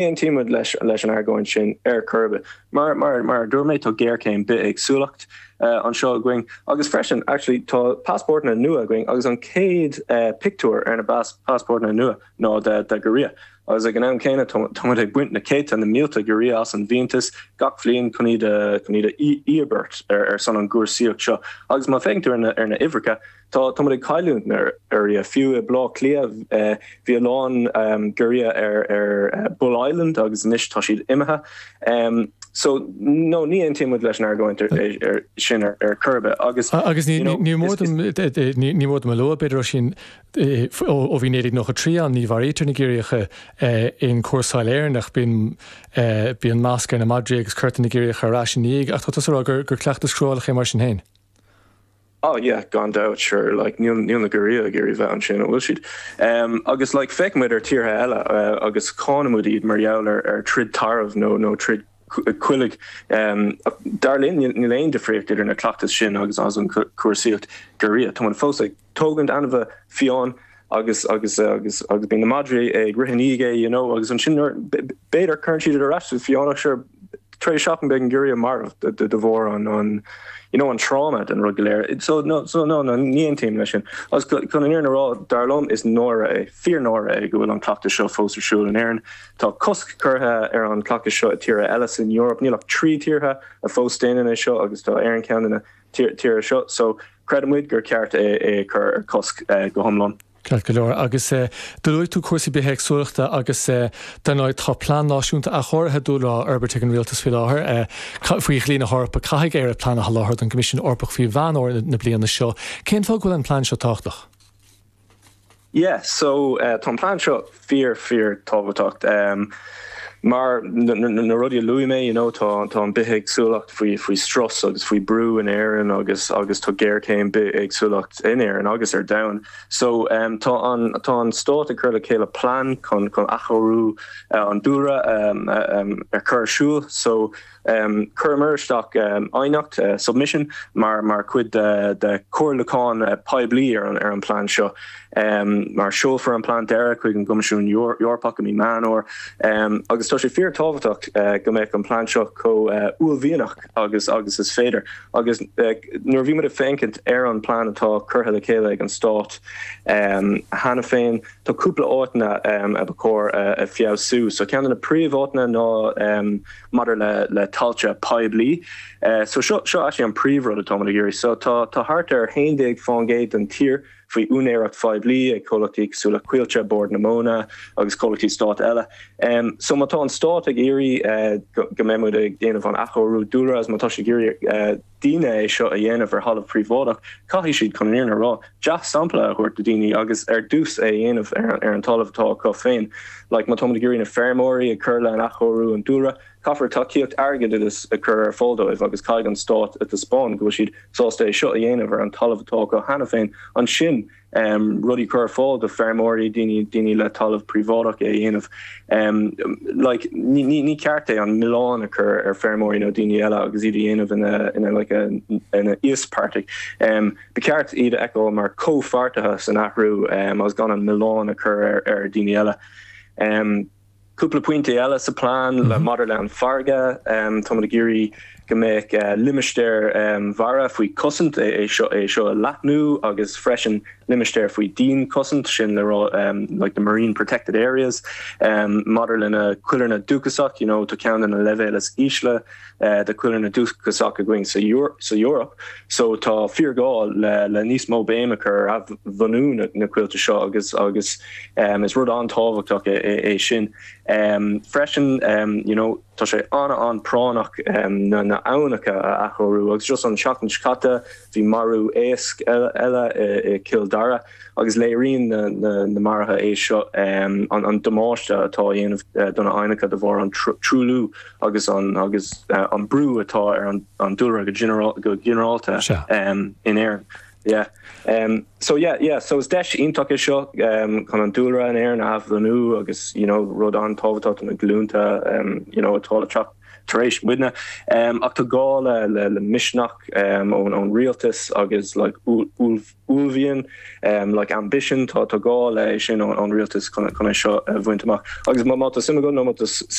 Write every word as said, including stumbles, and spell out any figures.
aontaím leis leis an argóint sin ar chor ar bith. Mar mar mar dúirt mé tá géarchéim bithéagsúlacht uh, anseo againn agus freisin actually tá passport nua againn agus an céad uh, pictiúr ar na passport nua ná de de giorria. agus ag an am céanna tá ag baint na céadta na mílte giorria as an bhfiántas gach bliain chun iad chun iad a íobairt ar ar son an gcúrsaíocht seo. Agus má fhéachann tú ar na ar na huimhreacha tá tá ag cailliúint ar ar fiú i Baile Átha Cliath bhí a lán giorria ar ar Bull Island agus anois tá siad imithe. Um, so no ní aontaím leis an argóint ar sin ar ar chor ar bith agus agus ní ní mór ní mór a lua b'fhéidir sin ó bhí naoi déag nócha trí ann ní mharaítear na giorriacha in cúrsáil Éireannach bíonn bíonn masc ar na madraí agus cuirtear na giorriacha ar ais ní ach tá rá gur gur cleachtas cruálach é mar sin féin. Oh yeah, gan doubt sure like níl níl na giorria ag iarraidh bheith ansin bhfuil siad. Um, agus like feicimid ar tíortha eile uh, agus cánaimid iad mar gheall ar ar troid tarbh nó nó troid coiligh um, dar linn níl aon difríocht idir na cleachtais sin agus as an cúrsaíocht giorria. Tá an fós ag tógaint ainmhithe fiáin agus agus agus agus bíonn na madraí ag rith ige you know agus ansin b'fhéidir cuireann siad ar ais fiánach sure tar éis seachtain beidh an giorria marbh de de bharr an an you know an trauma den rud go léir so no so no no ní aontaím leis sin agus chun an fhírinne a rá dar liom is náire é fíor náire é go bhfuil an cleachtas seo fós ar siúl in Éirinn Tá cosc curtha ar an cleachtas seo i tíortha eile san Eoraip níl ach trí tíortha a fós déanann é seo agus tá Éire ar cheann de na tíortha seo so creidimid gur ceart é é chur ar cosc eh, go hiomlán. Ceart go leor agus do luaigh tú cúrsaí bithéagsúlachta agus dar ndóigh tá plean náisiúnta athchóirithe dúlra á fhorbairt ag an rialtas faoi láthair faoi dhlí na hEorpa caithfidh Éire plean a sholáthar don Choimisiún Eorpach faoi Mheán Fómhair na bliana seo. Cén fáth go bhfuil an plean seo tábhachtach? Yeah, so uh, tá plean seo fíor fíor tábhachtach. Um, mar na rudaí a luaigh mé you know, tá tá an bithéagsúlacht faoi faoi strus agus faoi brú in Éirinn agus agus tá géarchéim bithéagsúlacht in Éirinn agus ar domhan. So um, tá an tá an stát ag cur le chéile plean chun chun athchóiriú uh, an dúlra um, um, ar chur siúl so um, chuireamar isteach um, aighneacht uh, submission mar mar chuid de, de chomhairliúchán uh, poiblí ar an ar an plean seo. Um, mar seolfar an plean deiridh chuig an gCoimisiún Eorpach i mí Meán Fómhair um, agus tá sé fíor tábhachtach uh, go mbeidh an plean seo chomh uh, uaillmhianach agus agus is féidir agus uh, nuair bhí muid ag féachaint ar an plean atá curtha le chéile ag an stát um, cheana féin tá cúpla áiteanna um, a ba chóir uh, a feabhsú so ceann de na príomháiteanna ná um, maidir le le tailte poiblí. Uh, so seo seo actually an príomhrud atá ag iarraidh so tá tá thart ar haon déag faoin gcéad den tír faoi úinéireacht phoiblí ag comhlachtaí cosúil le Coillte Bord na Móna agus comhlachtaí stáit eile. Um, so má tá an stát ag iarraidh uh, go mbeimid ag déanamh an athchóiriú dúlra má tá sé ag iarraidh uh, daoine é seo a dhéanamh ar thalamh príobháideach, caithfidh siad chun an rá dea-sampla a thabhairt do daoine agus ar dtús é dhéanamh ar, ar an talamh atá acu féin. Like má tá ag iarraidh na feirmeoirí ag cur le an athchóiriú an dúlra, caithfear tacaíocht airgeadais a chur ar fáil dóibh agus caithfidh an stát a thaispeáint go bhfuil siad sásta é seo a dhéanamh ar an talamh atá acu cheana féin ansin um, rudaí chur fáil do feirmeoirí daoine daoine le talamh príobháideach é dhéanamh. Um, like, ní, ní, ní ceart é an milleán a chur ar feirmeoirí nó daoine eile agus iad a dhéanamh ina ina like a, ina íospartaigh. Um, Ba ceart iad a fheiceáil mar comhpháirtithe san athrú um, agus gan an milleán a chur ar, ar daoine eile. Um, Cúpla pointe eile sa plean mm -hmm. le maidir le an farraige um, tá ag iarraidh go mbeidh uh, limistéir um, mhara faoi chosaint é, é seo é seo a leathnú agus freisin limistéir faoi dhianchosaint sin le um, like the marine protected areas um, maidir le na coillearna dúchasach you know, tá ceann de na leibhéil is ísle uh, de coillearna dúchasach againn sa sa Eoraip so tá fíorghá le le níos mó béime a chur ar bhunú na, na coillte seo agus agus um, is rud an-tábhachtach é, é, é sin um, freisin um, you know, tá sé an an-phráinneach um, na na aibhneacha a athchóiriú agus just an seachtain seo caite bhí marú éisc eile i Cill Dara agus léiríonn na, na, na maruithe é seo um, an, an damáiste atá á dhéanamh uh, do na haibhneacha de bharr an truailliú agus an agus uh, an brú atá ar an, an dúlra go, general, go ginearálta um, in Éirinn. Yeah. Um, so yeah, yeah, so is deis iontach é seo um, chun an dúlra in Éirinn a athbhunú agus you know, rud an-tábhachtach na glúnta um, you know, atá le teacht tar éis muidne. Um, ach tá gá le le, le misneach um, ón ón rialtas agus like, uaillmhian um, like ambition tá tá gá le sin ón, ón rialtas chun seo a bhaint amach. Agus má tá suim nó